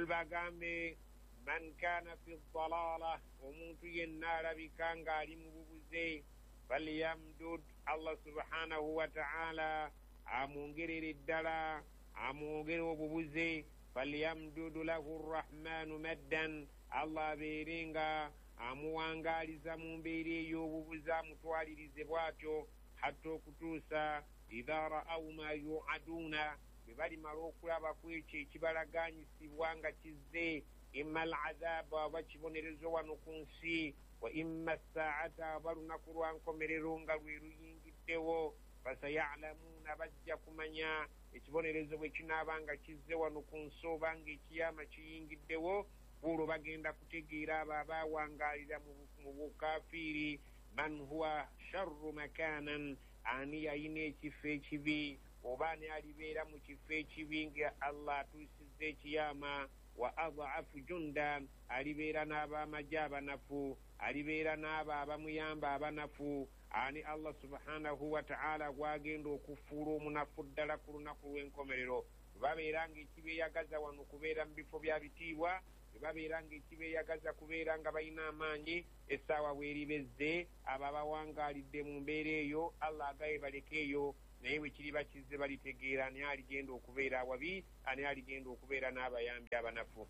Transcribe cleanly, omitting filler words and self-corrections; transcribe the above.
Qul, bagambe, man kana fi dalala, omuntu yenna alabika ng'ali mu bubuze, falyamdud, Allah subhanahu wataala amwongerere ddala, amwongere obubuze. Falyamdudu lahu rrahmanu maddan, Allah abeere nga amuwangaaliza mu mbeera ey'obubuze, amutwalirize bw'atyo hatta okutuusa idha ra'au ma yuaduuna, bwe balimala okulaba ku ekyo ekibalaganyisibwa nga kizze, imma al azaba, oba kibonerezo wano ku nsi, wa imma saata, oba lunaku lwa nkomerero nga lwe luyingiddewo. Fasayalamuuna, bajja kumanya ekibonerezo bwe kinaaba nga kizze wano ku nsi oba nga ekiyama kiyingiddewo. Olwo bagenda kutegeera abo abawangaalira mu bukafiiri, man huwa sharru makanan, ani yayina ekifo ekibi oba ani alibeera mu kifo ekibi nga Allah atuusizza ekiyama, wa adhafu junda, alibeera n'abamagye abanafu, alibeera n'abo abamuyamba abanafu, ani Allah subhanahu wataala gwagenda okufuula omunafu ddala ku lunaku lw'enkomerero. Bwe babeera nga ekibeeyagaza wano kubeera mu bifo bya bitiibwa, bwe babeera nga ekibeeyagaza kubeera nga balina amaanyi, essaawa bweribezze, abo abawangaalidde mu mbeera eyo Allah agaye baleke eyo, naye bwe kiriba kizze balitegeera ani aligenda okubeera awabi, ani aligenda okubeera n'abayambi abanafu.